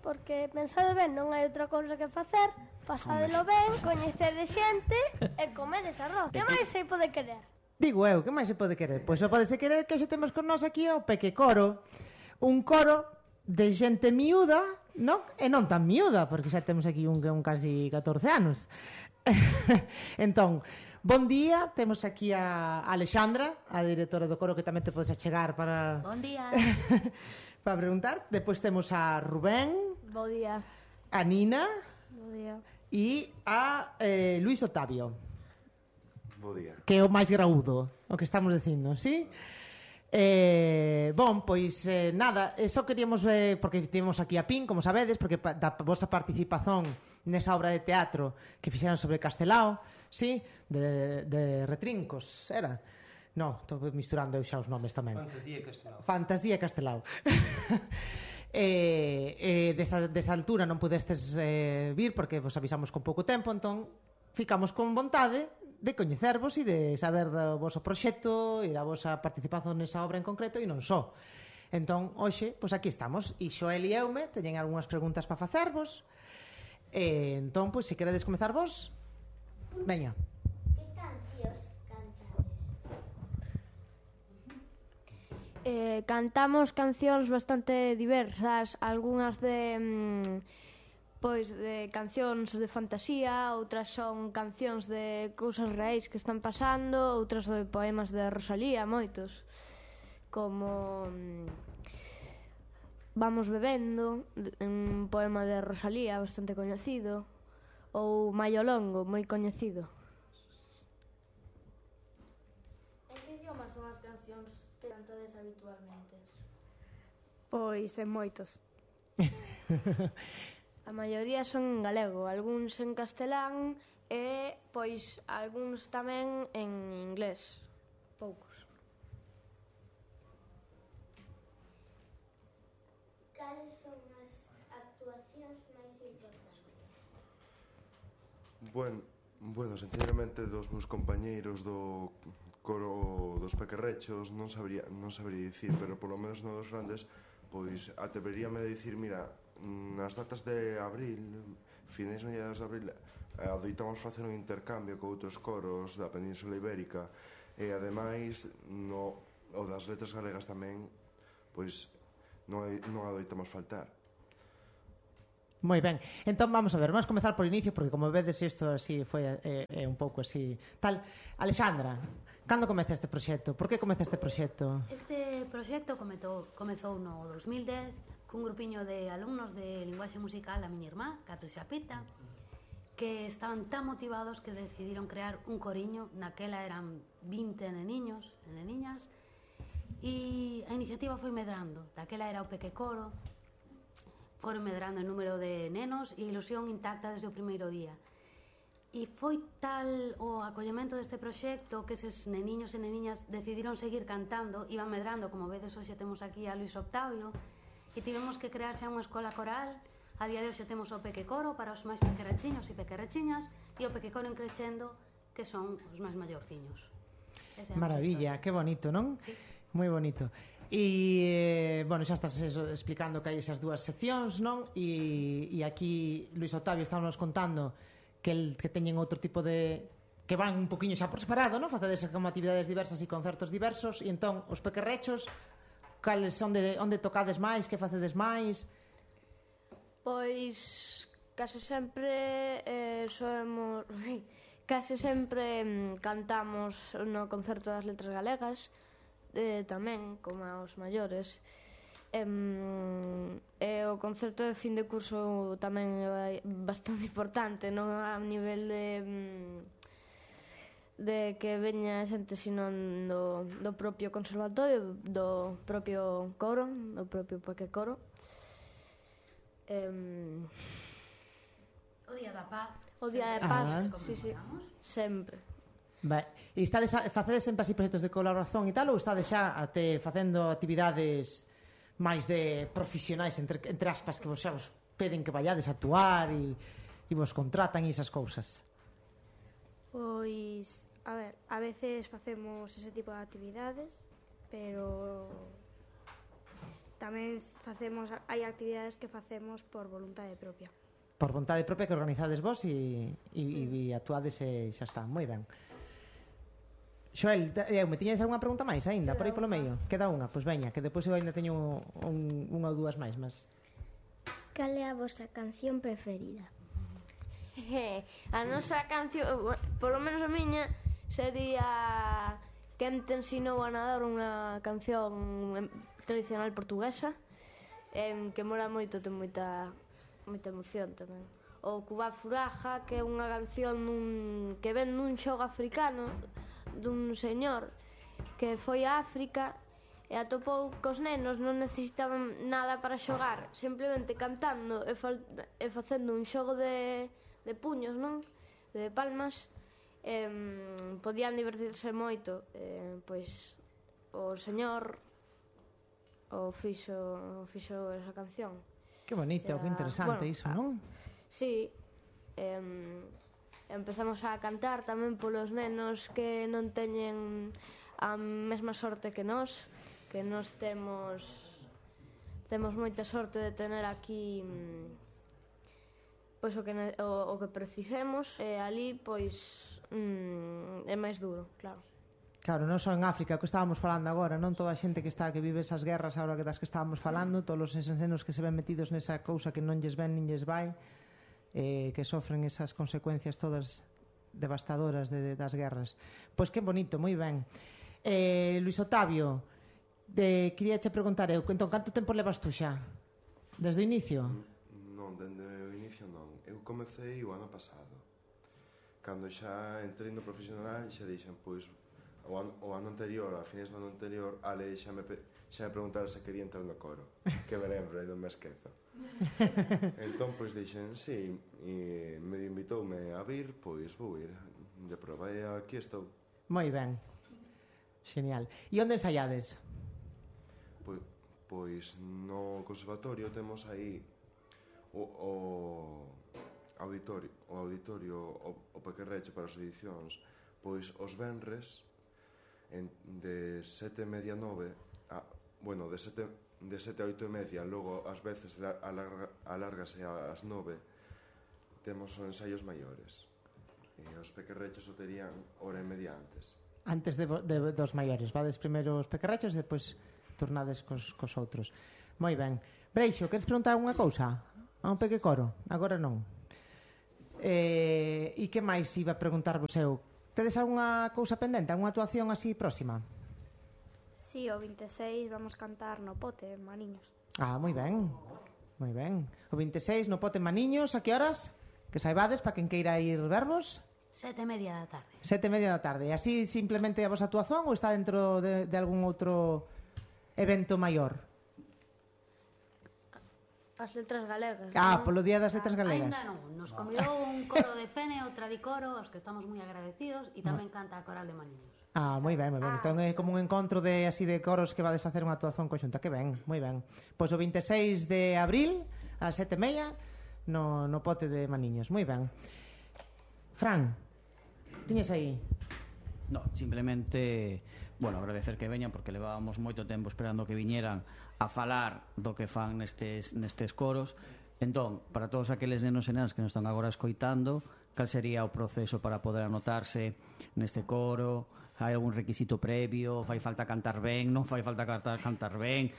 porque pensade ben, non hai outra cousa que facer, pasadelo ben, coñecede xente e comedes arroz. Que máis se pode querer? Digo eu, que máis se pode querer? Pois só pode se querer que xe temos con nós aquí o Peque Coro. Un coro de xente miúda, non? E non tan miúda, porque xa temos aquí un casi 14 anos. Entón, bon día, temos aquí a Alexandra, a directora do coro, que tamén te podes achegar para... Bon día. para preguntar. Depois temos a Rubén. Bo día. A Nina. Bo día. E a Luis Octavio. Bo día. Que é o máis graúdo, o que estamos dicindo, sí? Bon, pois nada, só queríamos porque tivemos aquí a PIN, como sabedes, porque da vosa participación nesa obra de teatro que fixeron sobre Castelao, sí? De Retrincos, era? No, estou misturando eu xa os nomes tamén. Fantasía Castelao. Desa altura non pudestes vir porque vos avisamos con pouco tempo, entón ficamos con vontade de coñecervos e de saber do voso proxecto e da vosa participación nesa obra en concreto e non só. Entón, hoxe, pois aquí estamos. E Xoel e Eume teñen algunhas preguntas para facervos. Entón, pois, se queredes comezar vos, veña. Que cancións cantades? Cantamos cancións bastante diversas, algunhas de cancións de fantasía, outras son cancións de cousas reais que están pasando, outras de poemas de Rosalía, moitos, como Vamos bebendo, un poema de Rosalía bastante coñecido, ou Maio Longo, moi coñecido. En que idioma son as cancións que cantades habitualmente? Pois en moitos. A maioría son en galego, algúns en castelán e, pois, algúns tamén en inglés, poucos. Cales son as actuacións máis importantes? Bueno, sinceramente dos meus compañeiros do coro dos Pequerrechos non sabría dicir, pero polo menos no dos grandes, pois atreveríame a dicir, mira, nas datas de abril, finais mediados de abril, adoitamos facer un intercambio con outros coros da Península Ibérica e ademais o das letras galegas tamén, pois non adoitamos faltar. Moi ben, entón vamos a ver, vamos comezar por inicio, porque como vedes isto así foi un pouco así tal. Alexandra, cando comeza este proxecto? Por que comeza este proxecto? Este proxecto comezou no 2010 cun grupiño de alumnos de linguaxe musical da miña irmá, Cato Xapita, que estaban tan motivados que decidiron crear un coriño. Naquela eran 20 neniños e neniñas, e a iniciativa foi medrando. Daquela era o Peque Coro, foron medrando en número de nenos e ilusión intacta desde o primeiro día. E foi tal o acollemento deste proxecto que eses neniños e neniñas decidiron seguir cantando, iban medrando, como vedes hoxe temos aquí a Luis Octavio, e tivemos que crear xa unha escola coral. A día de hoxe temos o Peque Coro para os máis pequerachiños e pequerachiñas e o Peque Coro en crecendo, que son os máis maiorciños. Maravilla, que bonito, non? Sí. Moi bonito. E, bueno, xa estás explicando que hai esas dúas seccións, non? E aquí Luis Octavio estábamos contando que teñen outro tipo de... que van un poquinho xa por separado, non? Facedes como actividades diversas e concertos diversos. E entón, os pequerrechos, cales son onde tocades máis, que facedes máis? Pois case sempre case sempre cantamos no concerto das letras galegas, tamén como aos maiores, e o concerto de fin de curso tamén é bastante importante, non a nivel de que veña xente sino do propio conservatorio, do propio coro, do propio Peque Coro. O Día da Paz. O Día da Paz, sí, sempre. E facedes sempre así proxectos de colaboración e tal, ou estades xa facendo actividades máis de profesionais, entre aspas, que vos xa vos peden que vayades a actuar e vos contratan e esas cousas? Pois, a ver, a veces facemos ese tipo de actividades, pero tamén hai actividades que facemos por vontade propia. Por vontade propia que organizades vos e actuades e xa está, moi ben. Xoel, me tiñades algunha pregunta máis aínda, por aí polo medio? Queda unha, pois veña, que depois eu aínda teño unha ou dúas máis, mas... Cal é a vosa canción preferida? A nosa canción, polo menos a miña, sería Quen te ensinou a nadar, unha canción tradicional portuguesa, que mola moito, ten moita emoción tamén. O Cuba Furaja, que é unha canción que ven nun xogo africano dun señor que foi a África e atopou cos nenos, non necesitaban nada para xogar, simplemente cantando e facendo un xogo de puños, non? De palmas, podían divertirse moito, pois o señor fixo esa canción. Que bonito, que interesante iso, non? Sí, empezamos a cantar tamén polos nenos que non teñen a mesma sorte que nós temos moita sorte de tener aquí pois o que precisemos, e ali pois é máis duro, claro. Claro, non só en África, o que estábamos falando agora, non toda a xente que vive esas guerras agora das que estábamos falando, todos eses nenos que se ven metidos nesa cousa que non lles ven nin lles vai, que sofren esas consecuencias todas devastadoras das guerras. Pois que bonito, moi ben. Luis Octavio, quería che preguntar eu, entón, canto tempo levas tú xa? Desde o inicio? Non, dende o inicio non. Eu comecei o ano pasado. Cando xa entrei no profesional, xa dixen, pois, o ano anterior, a fines do ano anterior, Ale xa me preguntaron se quería entrar no coro, que me lembro e non me esquezo. Entón, pois, dixen, sí, e medio invitoume a vir, pois vou ir de proba, e aquí estou. Moi ben, genial. E onde ensaiades? Pois no conservatorio temos aí o auditorio, o Pequerreche para as edicións, pois os venres de 7:30 a 9, bueno, de 7 a 8:30, logo ás veces alárgase ás 9, temos os ensaios maiores, e os Pequerreches o terían hora e media antes. Antes dos maiores, vades primeiro os Pequerrechos e depois tornades cos outros. Moi ben. Breixo, queres preguntar alguna cousa? A un pequecoro? Agora non. E que máis iba a preguntarvos eu? Tedes algunha cousa pendente? Algunha actuación así próxima? Sí, o 26 vamos cantar no Pote, en Maniños. Moi ben. Moi ben. O 26 no Pote en Maniños, a que horas? Que saibades, para quen queira ir vervos? 7:30 da tarde. 7:30 da tarde. E así simplemente a vosa actuación ou está dentro de algún outro evento maior? As letras galegas. Polo Día das Letras Galegas. Ainda non, nos convidou un coro de Fene, o Tradicoro, aos que estamos moi agradecidos, e tamén canta a Coral de Maniños. Moi ben, moi ben. Entón é como un encontro de coros que vades facer unha actuación conxunta. Que ben, moi ben. Pois o 26 de abril, ás 7:30, no Pote de Maniños. Moi ben. Fran, tiñes aí? No, simplemente, bueno, agradecer que veñan porque levábamos moito tempo esperando que viñeran a falar do que fan nestes coros. Entón, para todos aqueles nenos e nenas que nos están agora escoitando, cal sería o proceso para poder anotarse neste coro? Hai algún requisito previo? Fai falta cantar ben? Non fai falta cantar ben?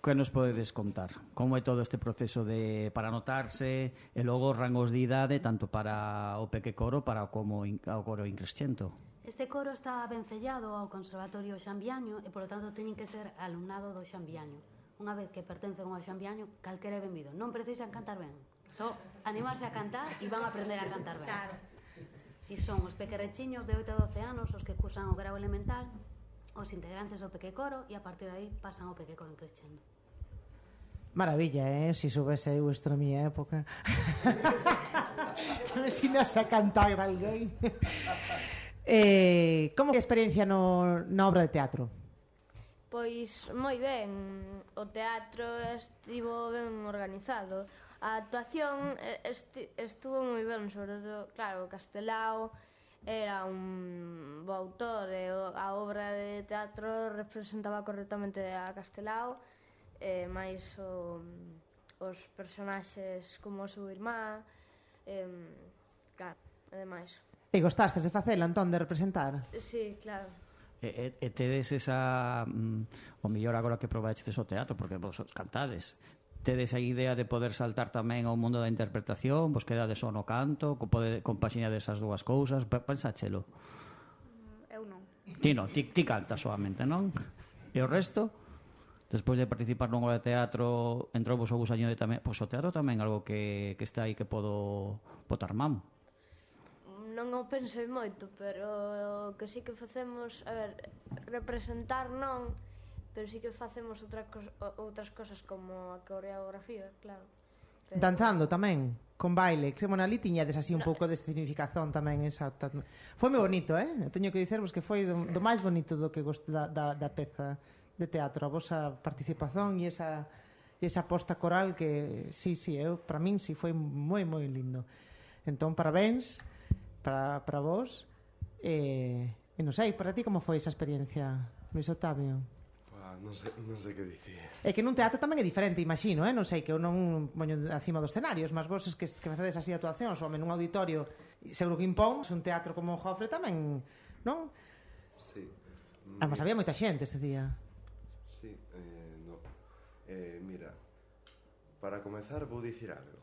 Que nos podedes contar? Como é todo este proceso para anotarse e logo rangos de idade tanto para o peque coro como ao coro increscento? Este coro está vencellado ao Conservatorio Xambiaño e, polo tanto, teñen que ser alumnado do Xambiaño. Unha vez que pertencen ao Xambiaño, calquera é benvido. Non precisan cantar ben. Só animarse a cantar e van a aprender a cantar ben. Claro. E son os pequerrechiños de 8 a 12 anos os que cursan o grau elemental, os integrantes do pequecoro, e a partir de aí pasan ao pequecoro en crescendo. Maravilla, si soubese eu isto na miña época. Que me ensinas a cantar alguén. Como é a experiencia na obra de teatro? Pois moi ben, o teatro estivo ben organizado. A actuación estuvo moi ben, sobre todo, claro, Castelao era un bo autor e a obra de teatro representaba correctamente a Castelao. máis os personaxes como o seu irmá, claro, e demais. E gostastes de facela, entón, de representar? Sí, claro. E tedes esa o mellor agora que probachedes o teatro, porque vos cantades, tedes a idea de poder saltar tamén ao mundo da interpretación, vos quedades só no canto, compaxinades esas dúas cousas, pensáchelo? Eu non. Ti non, ti cantas solamente, non? E o resto? Despois de participar nun obra de teatro, entrou vos o gusaño de tamén, pois o teatro tamén algo que está aí que podo botar man. Non o pensei moito, pero que sí que facemos, a ver, representar non, pero sí que facemos outras cosas como a coreografía, claro. Pero... Danzando tamén, con baile, que ali tiñades así un pouco de significación tamén esa. Foi moi bonito, eu teño que dicervos que foi do máis bonito do que da peza de teatro, a vosa participación e esa posta coral que, sí, para min sí foi moi, moi lindo. Entón, parabéns para vos e non sei, para ti como foi esa experiencia, Luis Octavio? Non sei que dicir. É que nun teatro tamén é diferente, imagino, non sei, que eu non poño acima dos escenarios, mas vos que facedes así actuacións ou nun auditorio, seguro que impón, un teatro como o Jofre tamén, non? Sí. Además, había moita xente ese día. Sí, no. Mira, para comezar vou dicir algo.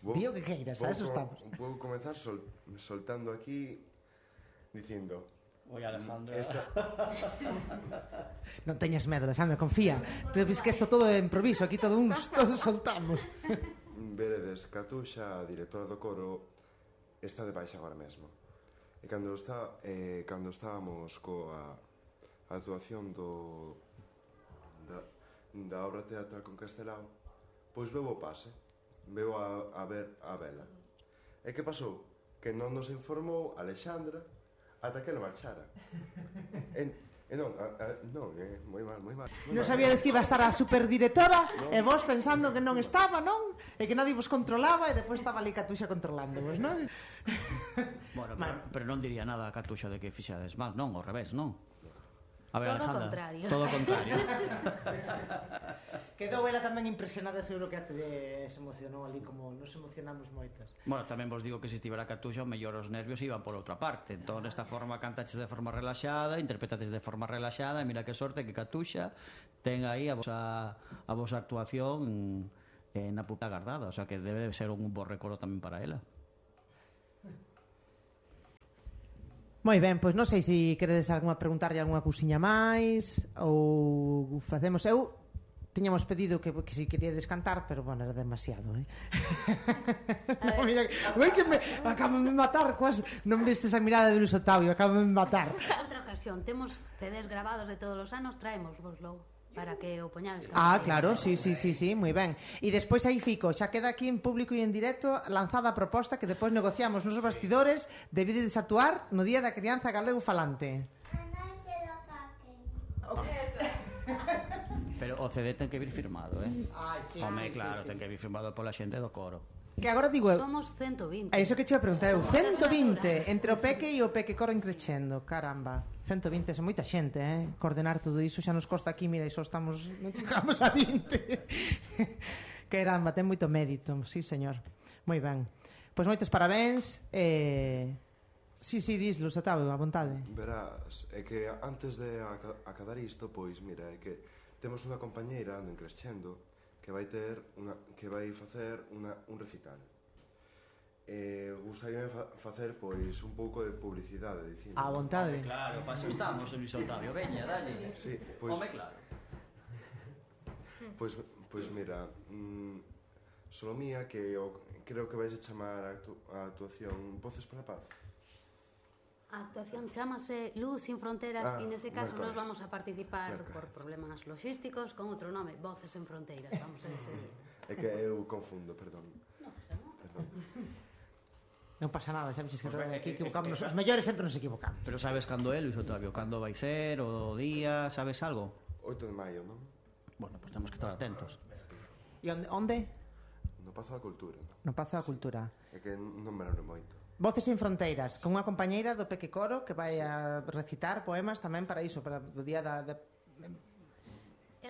Dío que queiras, a eso estamos. Vou comezar soltando aquí dicindo: Oi, Alejandro. Non teñas medo, Alejandro, confía. Tú ves que isto todo é improviso, aquí todos soltamos. Veredes, Catuxa, a directora do coro, está de baixa agora mesmo. E cando estábamos coa actuación da obra teatral con Castelao, pois veu o pase. Veu a ver a vela. E que pasou? Que non nos informou Alexandra ata que ela marchara. Moi mal. Non sabíades que iba a estar a superdirectora e vos pensando que non estaba, non? E que nadie vos controlaba e depois estaba ali Catuxa controlándovos, non? Bueno, pero non diría nada a Catuxa de que fixades mal, non, ao revés, non? A ver, Todo Alejandra, contrario. todo o contrario. Quedou ela tamén impresionada, seguro que até se emocionou ali, como nos emocionamos moitas. Bueno, tamén vos digo que se estivera Catuxa, o mellor os nervios iban por outra parte. Entón, desta forma cantaches de forma relaxada, interpretaches de forma relaxada, e mira que sorte que Catuxa ten aí a vosa actuación na puta guardada, o sea que debe ser un bo recordo tamén para ela. Moi ben, pois non sei se queredes preguntarlle algunha cousiña máis ou facemos. Eu tiñamos pedido que si queríades cantar, pero bueno, era demasiado, No, mira, que me acaban de matar, non vistes a mirada de Luis Octavio, acaban de matar. Outra ocasión, temos CDs grabados de todos os anos, traémosvoslo para que o poñades. Claro, sí, moi ben. E despois aí fico, xa queda aquí en público e en directo lanzada a proposta que depois negociamos nos bastidores de vides actuar no Día da Crianza Galego Falante. Pero o CD ten que vir firmado, Sí, home, claro, ten que vir firmado pola xente do coro. Que agora digo eu. Somos 120. É iso que che iba a preguntar eu. 120 entre o Peque e o Peque Coro encrecendo. Caramba. 120 é moita xente, Coordenar todo iso xa nos costa aquí, mira, iso estamos, non chegamos a 20. Caramba, ten moito mérito. Sí, señor. Moi ben. Pois moitos parabéns. Sí, dis, Luis Octavio, a vontade. Verás, é que antes de acabar isto, pois, mira, é que temos unha compañeira no Encrescendo que vai facer un recital. Gustaríame facer, pois, un pouco de publicidade, dicindo. A vontade. Home, claro, para eso estamos, Luis Octavio, veña, dalle. Sí, pois, home, claro. Pois mira, Solomía, que creo que vais a chamar a actuación Voces para a Paz. A actuación chamase Luz sin Fronteras e nese caso nos vamos a participar por problemas logísticos con outro nome, Voces en Fronteiras. Vamos a ese día. É que eu confundo, perdón. Non pasa nada. Non pasa nada, xa vexes que aquí equivocamos. Os mellores sempre nos equivocamos. Pero sabes cando é, Luis Octavio? Cando vai ser, o día, sabes algo? 8 de maio, non? Bueno, pues temos que estar atentos. E onde? No Pazo da Cultura, non? No Pazo da Cultura. É que non me lembro moito. Voces en Fronteiras, con unha compañeira do Peque Coro que vai a recitar poemas tamén para iso, para o día da...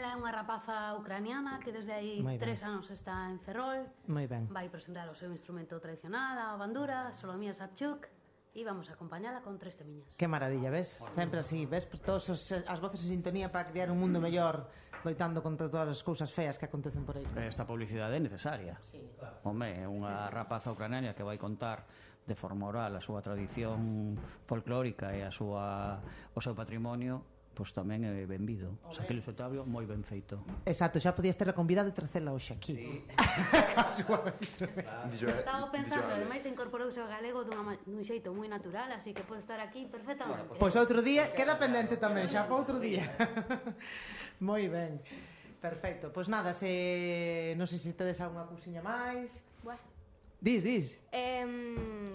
Ela é unha rapaza ucraniana que desde aí Moi ben. 3 anos está en Ferrol. Moi ben. Vai presentar o seu instrumento tradicional, a bandura, Solomía Sabchuk, e vamos a acompañala con 3 temiñas. Que maravilla, ves? Sempre así, ves? Todos as voces en sintonía para crear un mundo mellor, loitando contra todas as cousas feas que acontecen por aí. Esta publicidade é necesaria. Home, é unha rapaza ucraniana que vai contar de forma oral a súa tradición folclórica e o seu patrimonio, pois tamén é benvido. O sea, que Luis Octavio, moi ben feito. Exacto, xa podías ter a convidada e trazela hoxe aquí. Sí. Estaba pensando, ademais incorporouse ao galego dun xeito moi natural, así que pode estar aquí perfectamente. Pois outro día, queda pendente tamén, xa para outro día. Moi ben. Perfecto. Pois nada, non sei se tedes algunha cousiña máis. Bueno. Dis.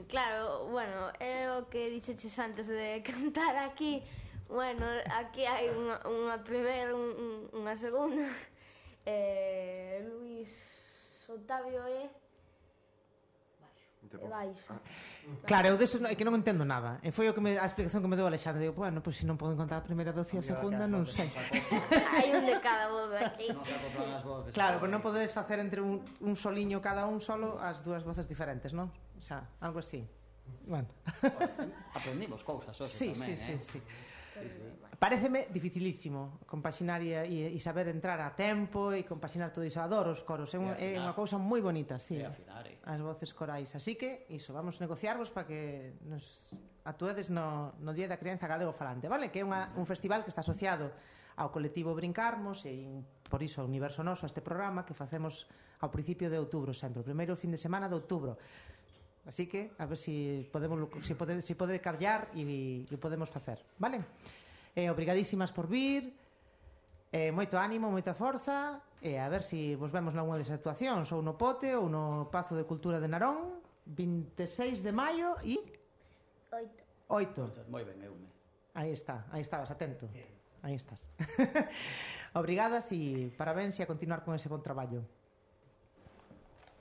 Claro, bueno, é o que dixeches antes de cantar aquí. Bueno, aquí hai unha primeira, unha segunda. Luis Octavio é baixo. Claro, eu deso é que non entendo nada. E foi a explicación que me deu Alexandre. Digo, bueno, pois se non poden contar a primeira voz e a segunda, non sei. Hai un de cada voz aquí. Non se acoplan as voces. Claro, pero non podedes facer entre un soliño cada un solo as dúas voces diferentes, non? Xa, algo así. Bueno. Aprendimos cousas hoxe Sí. tamén, Paréceme dificilísimo compaxinar e saber entrar a tempo e compaxinar todo iso. Adoro os coros, é unha cousa moi bonita, sí. As voces corais. Así que, iso, vamos negociarvos para que nos actuedes no Día da Crianza Galego Falante, vale? Que é un festival que está asociado ao colectivo Brincarmos e por iso o Universo Noso, este programa que facemos ao principio de outubro sempre, o primeiro fin de semana de outubro. Así que, a ver se pode callar e o podemos facer, vale? Obrigadísimas por vir, moito ánimo, moita forza, e a ver se vos vemos nalgúna desas actuacións, ou no Pote, ou no Pazo de Cultura de Narón, 26 de maio e... 8. Moi ben, Eume. Aí estabas, atento. Aí estás. Obrigadas e parabéns e a continuar con ese bon traballo.